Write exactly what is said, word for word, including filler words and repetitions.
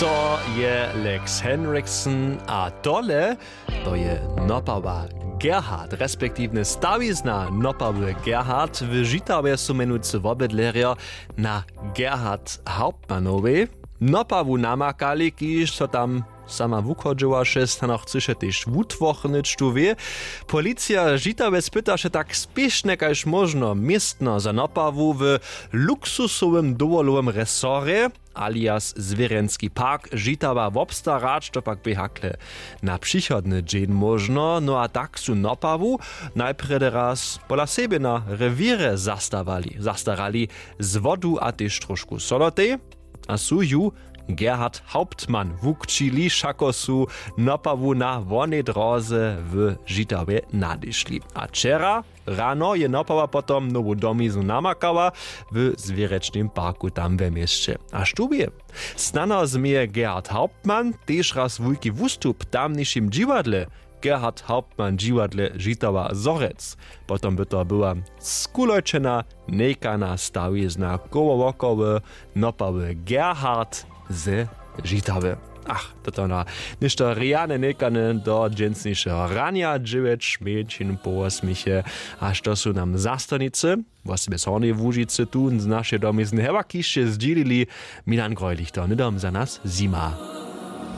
To je Lex Henriksen a tole to je nopawa Gerhard respektiwnje stawizna nopawy Gerhard. W Žitawje su mjenujcy wobydlerjo na Gerhard Hauptmannowej nopawu namakali, kiž so tam sama wuchodźowaše, snano chcyše tež wutworchnyć tu wě. Policija Žitawje spytaše tak spěšnje kaž móžno městno za nopawu w luksusowym dowolowym resorje alias zwěrjenski park Žitawa wobstarać, to pak bě hakle na přichodny dźeń móžno. No a tak su nopawu najprjedy raz pola sebje na rewěrje zastarali zastarali z wodu a tež trošku solotej a su ju Gerhard Hauptmann wukćili, wšako su nopawu na wonej dróze w Žitawje nadešli. A wčera rano je nopawa potom nowu domiznu namakała w zwěrječnym parku tam we měsće. A štó wě, snano změje Gerhard Hauptmann tež raz wulki wustup w tamnišim dźiwadle. Gerhard Hauptmann dźiwadle Žitawa Zhorjelc. Potom by to była skulojčena njejkana stawizna koło wokoły nopały Gerhard ze Žitawy. Ach, to to na něšto rjane njejkane do dźensnišeho ranja dźewjeć mjeńšin po wosmiche. A što su nam zastornicy wosebje z hornjeje łužicy tu z našej domizny hewa kišće zdźělili? Milan grojlich to hnydom za nas zjima.